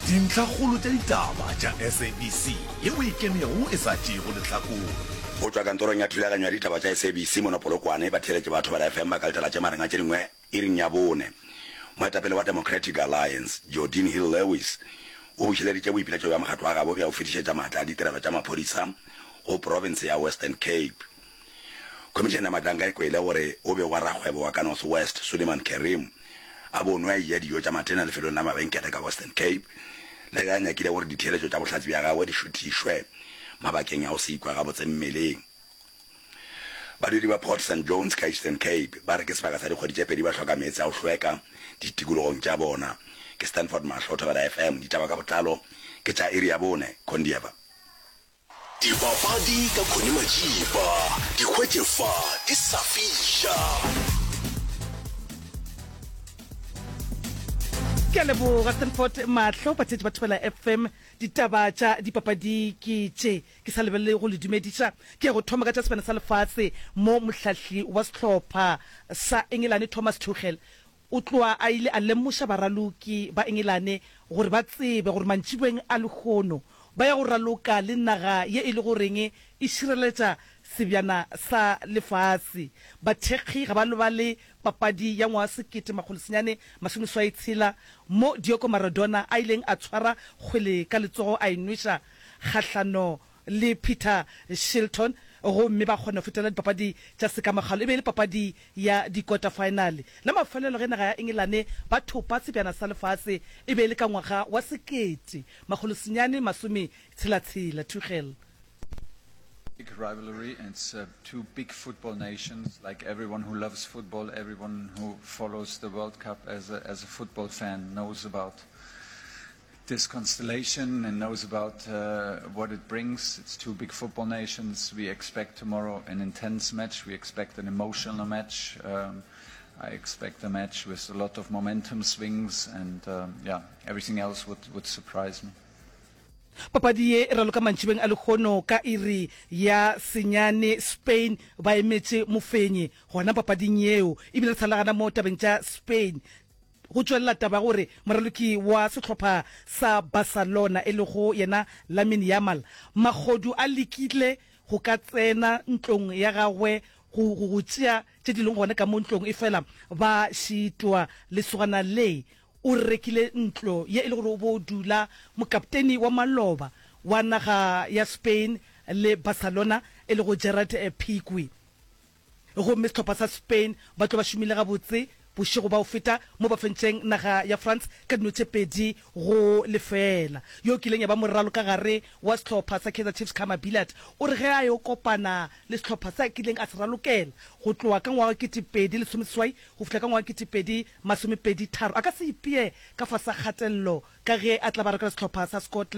Dintlhakgolo tša ditaba tša SABC yeo e ikemego e sa tšeego lehlakore. Go tšwa kantorong ya thulaganyo ya ditaba tša SABC mono Polokwane, batheeletši ba Thobela FM ba ka letela tše magareng a tše dingwe iring ya bone. Moetapele wa Democratic Alliance, Geordin Hill-Lewis, o bušeleditše boipiletšo bja mokgatlo wa gabo bja go fetišetša maatla a ditirelo tša maphodisa go profense ya Western Cape. Khomišene ya Matlanka e kwele gore o begwa rakgwebo wa ka North West, Suleiman Carrim, a bonwe a eja dijo tša matena lefelong la mabenkele ka Western Cape, le ge a nyakile gore ditheeletšo tša bohlatse bja gagwe di šuthišwe mabakeng a go se ikwe gabotse mmeleng. Badudi ba Port St Johns ka Eastern Cape ba re ke sebaka sa dikgwedi tše pedi ba hloka meetse a go hlweka ditikologong tša bona. Ke Stanford Mahlo, Thobela FM, ditaba ka botlalo ke tša iri ya bone, Kondieva. Dipapadi ka Connie Majiba, di hwetše fa di sa fiša. Ke a leboga Stanford Mahlo, batheetši ba Thobela FM. Ditaba tša dipapadi ke tše ke sa lebelele go le dumediša. Ke ya go thoma ka tša sebana sa lefase mo mohlahli wa sehlopha sa Engelane Thomas Tuchel o tloa a ile a lemoša baraloki ba Engelane gore ba tsebe gore mantšiboeng a lehono ba ya go raloka le naga ye e le goreng e šireletša sebjana sa lefase. Bathekgi ga ba lebale papadi ya ngwaga 1986 mo Diego Maradona a ileng a tshwara kgwele ka letsogo a e nweša kgahlano le Peter Shilton gomme ba kgona go fetela dipapadi tša sekamakgalo. E be e le papadi ya dikota-faenale. La mafelelo ge naga ya Engelane ba thopa sebjana sa lefase e be e le ka ngwaga wa 1966. Tuchel. Big rivalry and it's two big football nations like everyone who loves football, everyone who follows the World Cup as a, as a football fan knows about this constellation and knows about uh, what it brings. It's two big football nations. We expect tomorrow an intense match. We expect an emotional match. Um, I expect a match with a lot of momentum swings and um, yeah, everything else would, would surprise me. Papadi ye e raloka mantšibeng a lehono ka iri ya senyane Spain ba emetše mofenyi gona papading yeo ebile re sa le gana mo tabeng tša Spain Go tšwelela taba ya gore moraloki wa sehlopha sa Barcelona e lego yena Lamine Yamal, mahodu a lekile go ka tsena ntlong ya gagwe go go go tšea tše di leng gona ka mo ntlong efela ba šitwa. Lesogana le o rekile ntlo ye e le gore o bo dula mokapteni wa maloba wa naga ya Spain le Barcelona e lego Gerard Pique. Gomme sehlopha sa Spain ba tlo ba šomile gabotse bošego ba go feta mo ba fentšeng naga ya France ka dino tše 2-0. Yo kileng ya ba moralokagare wa sehlopha sa Kaizer Chiefs Khama Billiat o re ge a yo kopana le sehlopha se a kileng a se ralokela go tloga ka ngwaga wa 2018 go fihla ka ngwaga wa 2023 a ka se ipee ka fase ga kgatelelo ka ge a tla ba ralokela sehlopha sa Scotland.